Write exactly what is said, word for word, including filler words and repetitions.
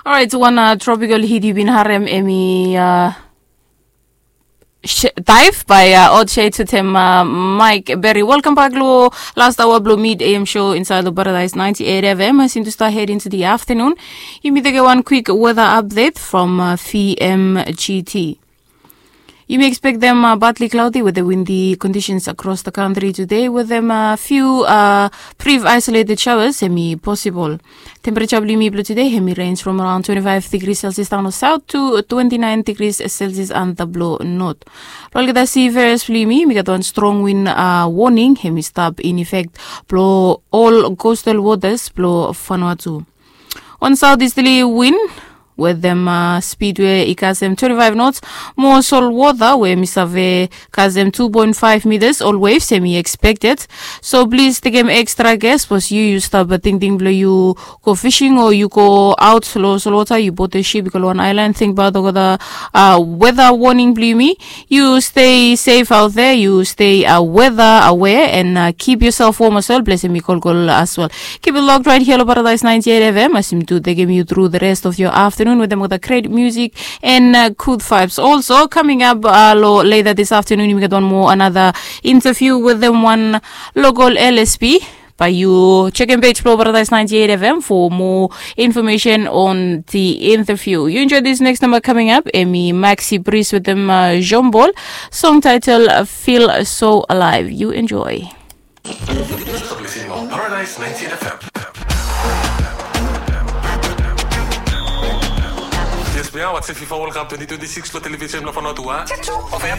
Orait, wan tropical hit yu bin harem, hemi dive by Odd Shade wetem Mike Berry. Welkam bak lo last aoa blo mid A M show insaed lo Paradise ninety-eight F M. As yumi tu stap head into the afternoon, yumi tekem wan kwik weather update from V M G T. Yumi ekspektem partly cloudy wetem windy conditions across the country today wetem few brief isolated showers hemi posibol. Temperature blo yumi blo today hemi range from around twenty-five degrees Celsius daon lo south to twenty-nine degrees Celsius antap lo north. Blo olgeta seafarers blo yumi, yumi gat wan strong wind warning hemi stap in effect blo ol coastal waters blo Vanuatu. Wan southeasterly wind wetem speed we i kasem twenty-five knots, mo solwota we hemi save kasem two point five meters, ol waves hemi expected. So plis tekem extra care sapos yu yu stap tingting blo yu go fishing o yu go aot lo solwota, yu boat ship yu go lo wan aelan, tingbaot olgeta weather warning blo yumi. Yu stay safe out there, yu stay weather aware and keep yourself warm as well. Ples hemi kolkol as well. Keep it locked right here lo Paradise ninety-eight F M as yumi tu tekem yu through the rest of your afternoon wetem olgeta great music and good vibes. Also coming up lo later this afternoon yumi gat wan moa another interview wetem wan local L S P. Bae yu jekem page blo Paradise ninety-eight F M for more information on the interview. Yu enjoy this next number coming up, hemi Maxi Priest wetem Jean Paul, song title Feel So Alive. Yu enjoy. Paradise ninety-eight F M. Yes, we are watching FIFA World Cup twenty twenty-six lo television blo Vanuatu. Check two of M.